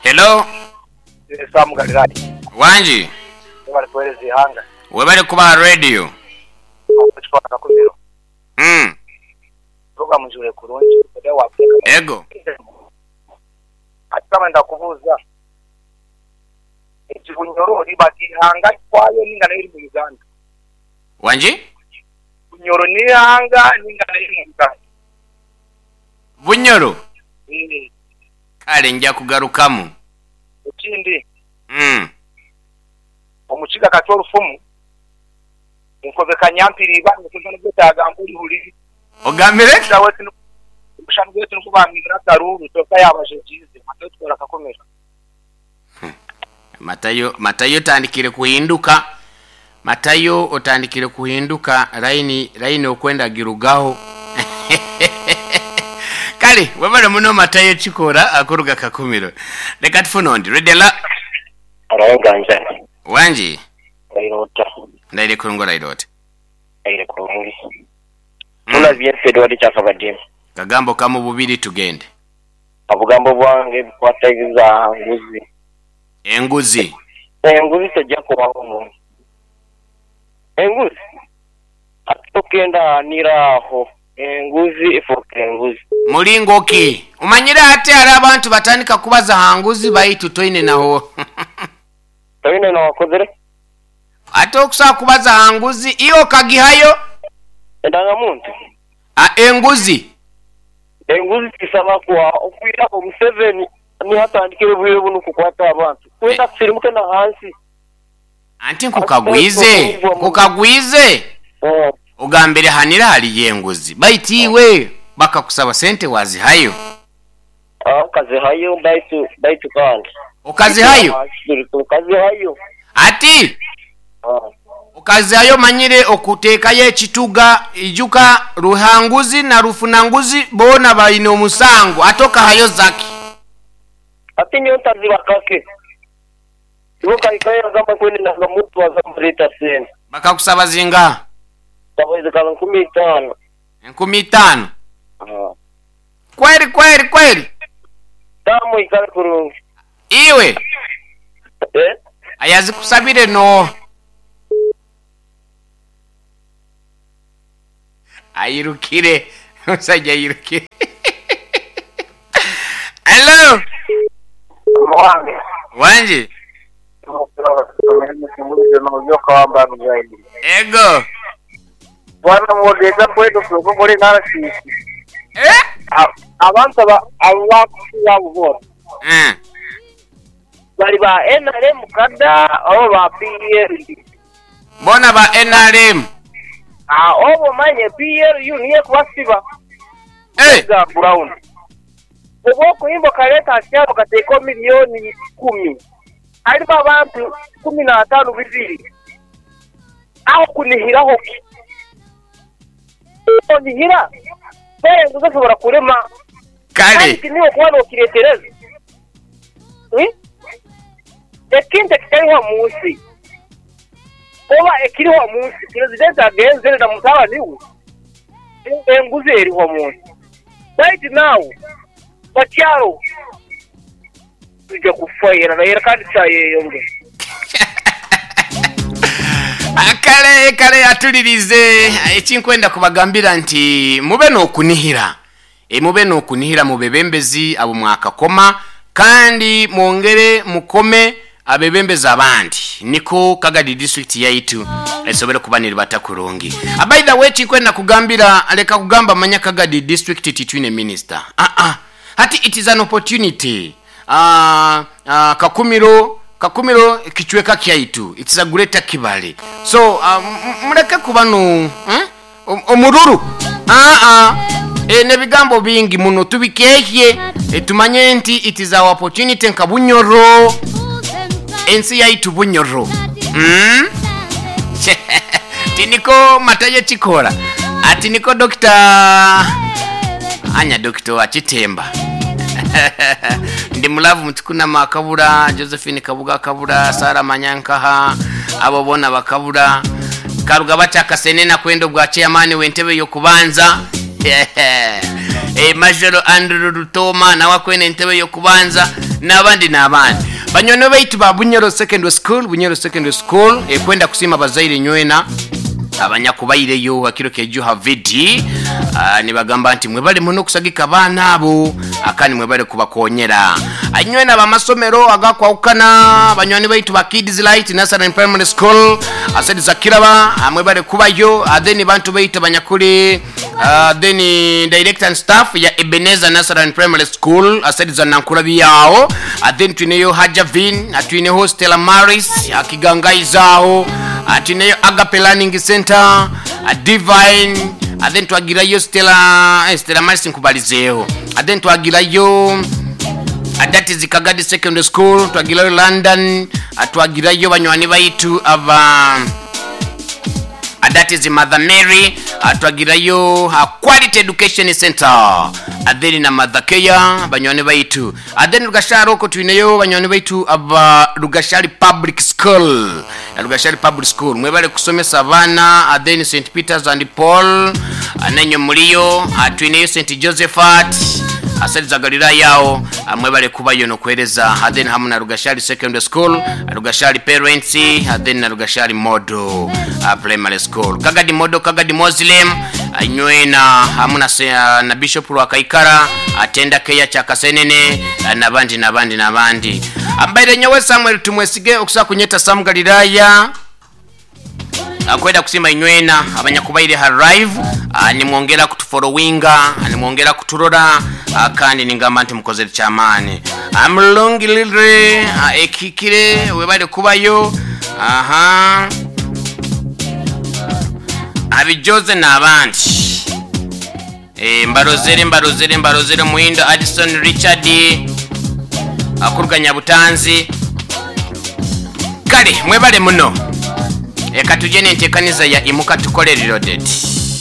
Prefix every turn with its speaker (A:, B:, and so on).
A: Hello.
B: Sam Galilaya.
A: Wangi.
B: Webale kuwereza eihanga.
A: Webale kuba aha radio.
B: Ekifo Kakumiro.
A: Mm.
B: Program njiwulire kurungi.
A: Ego.
B: Ati Sam nda kubuuza. Egi Bunyoro riba ihanga kwayo ninga nayo eri mu Uganda?
A: Wangi?
B: Bunyoro n'eihanga ninga nayo eri mu Uganda?
A: Bunyoro?
B: Eeh.
A: Kale nja kugarukamu.
B: Ekindi,
A: Mm.
B: Omukiga kati orufumu, Nkobe kanyampiriiba nikuza nigwetaaga mpurihuri.
A: Ogambire ki?
B: Omushana gwaitu nikwo bamwibire akaruuru kyonka yaabajegyize Matayo Tukora Kakomera.
A: Matayo Matayo otandikire kuhinduka Matayo otandikire kuhinduka line line okwenda girugaho Kale webale muno Matayo Kikora akuruga Kakumiro. Leka tufune ondi. Ready la.
C: Araye Ganjani.
A: Wangi.
C: Ndaire ota?
A: Ndaire kurungi oraire ota?
C: Ndaire kurungi. Muna byaife Edward Kyakabadinha.
A: Kagambo kamu bubiri tugende.
C: Obugambo bwange bukwataghiza aha nguzi.
A: Enguzi.
C: Enguzi teja kubagho mu. Enguzi ati tokenda ghanira agho. Enguzi efuuka enguzi.
A: Mulingo ki? Omanyire hati hariho abantu batandika kubaza aha nguzi baitu toine naho.
C: Toine n'owakozire.
A: Ate okusobola kubaza aha nguzi, iwe okagihayo?
C: Endangamuntu.
A: A Enguzi.
C: Enguzi tisaba kuha okwiraho Museveni niho atandikire obwire bunu kukwata abantu. Twenda tusirimuke na hansi.
A: Anti nkukagwize, nkukagwize, ogambire hanira hariyo enguzi, baitu iwe bakakusaba sente wazihayo?
C: Nkazihayo baitu baitu kandi.
A: Okazihayo?
C: Nkazihayo.
A: Ati okazihayo omanyire okuteekayo ekituga, ijuka Ruhanguzi na Rufunanguzi boona baine omusango, ate okahayo zaki?
C: Ati nyowe ntaziba kake. Iwe okahikayo yagamba ngu enanga muntu aza kumureeta sente.
A: Bakakusaba zingaha?
C: Zikaba 5000.
A: 5000? Kweri kweri kweri.
C: Taamu oikale kurungi.
A: Iwe
C: Eh?
A: ayazikusabire nooha? Airukire, omusaija airukire. Hello.
B: Owange.
A: Wangi. Ego.
B: Bwana mwogeza kwetu kuri NRCC.
A: Eh?
B: Abantu aba abo bakusiba abo boona
A: Eh.
C: Bali ba nrm kada oba ba PLU?
A: Boona ba nrm.
C: Aah oba omanye PLU niyo ekubasiba.
A: Eh.
C: Ga ground. Oba okuhimba okaleeta aha kyaro okateekaho milioni ikumi harimu abantu 15 bibiri aho kunihiraho ki? Onihira enguzi osobora kurema
A: Kale.
C: kandi tiniiwe okuba nokiretereza. Ekintu ekitariho omu nsi oba ekiriho omu nsi Purezidenti agenzire na mutabani we, enguzi eriho omu nsi. Baitu naawe bakyaro twija kufa era kandi kyayeyongera.
A: Kale kale atulirize ekinkwenda kubagambira nti mube n'okunihira E, mube n'okunihira mu bebembezi abo mwakakoma, kandi mwongere mukome abebembezi abandi niko Kagadi District yaitu esobole kuba neribata kurungi. By the way ekinkwenda kugambira leka kugamba manya Kagadi District titwine minister aa hati it is an opportunity aah Kakumiro Kakumiro kicweka kyaitu it is a greater Kibale so muleke kuba no eh Omururu, Aa, n'ebigambo bingi muno tubikehye tumanye nti it is our opportunity nka Bunyoro, ensi yaitu Bunyoro. Mm? Tiniko Matayo Kikora ati niko Dokita anya Dokita wa Kitemba. Ndi mulavu Mutikunama akabura, Josephine Kabuga akabura, Sarah Manyankaha abo bona bakabura. Karuga batyo akasenene kwenda obwa chairman w'entebe y'okubanza. Major Andrew Rutooma nawe akwenda entebe y'okubanza. N'abandi n'abandi. Banywani baitu ba Bunyoro Secondary School, Bunyoro Secondary School ekwenda kusiima abazaire nywena abanyakubaireyo hakiro kyejo ha vidi. Ah, nibagamba nti mwebale muno kusagika abaana abo ah, kandi mwebale kubakonyera. Ah, nywena abamasomero agakwahukana banywani baitu ba Kids Light Nursery and Primary School asedi za Kiraba ah, mwebale kubayo. Ah, then bantu baitu abanyakuli Then director and staff ya Ebenezer Nursery and Primary School aside za Nankurabi aho. Then twineyo Hajavin, twineho Stella Maris Kigangaiza aho, twineyo Agape Learning Center, Divine, then twagirayo Stella, eh, Stella Maris nkubalizeeho. Then twagirayo that is Kagadi Secondary School, twagirayo London, twagirayo banywani baitu aba that is Mother Mary, twagirayo Quality Education Center, then na Mother Care banywani baitu. Then Rugashari okwo twineyo banywani baitu aba Rugashari Public School, Rugashari Public School mwebale kusomesa abaana. Then St Peters and Paul nainywe muriyo. Twineyo St Josephat asali za Galilaya aho, mwebale kubayo nokuhereza. Then hamu na Rugashari Secondary School, Rugashari Parents, then na Rugashari Model Primary School, Kagadi Model, Kagadi Muslim nywena hamu na, na Bishop Rwakaikara atenda keya kyakasenene nabandi nabandi nabandi. Ambaire nyowe Samuel Tumwesige okusa kunyeta Sam Galilaya akwenda kusima inywena abanyakubaire ha live, nimwongera kutufollowinga, nimwongera kuturora, kandi ningamba nti mukozere kyamaani. Amulungilire ekikire webale kubayo aha abijoze n'abandi. Mbarozere mbarozere mbarozere Muhindo Addison Richard akuruganya Butanzi. Kale mwebale muno. Eka tujye n'enteekaniza ya Imuka Tukole Reloaded.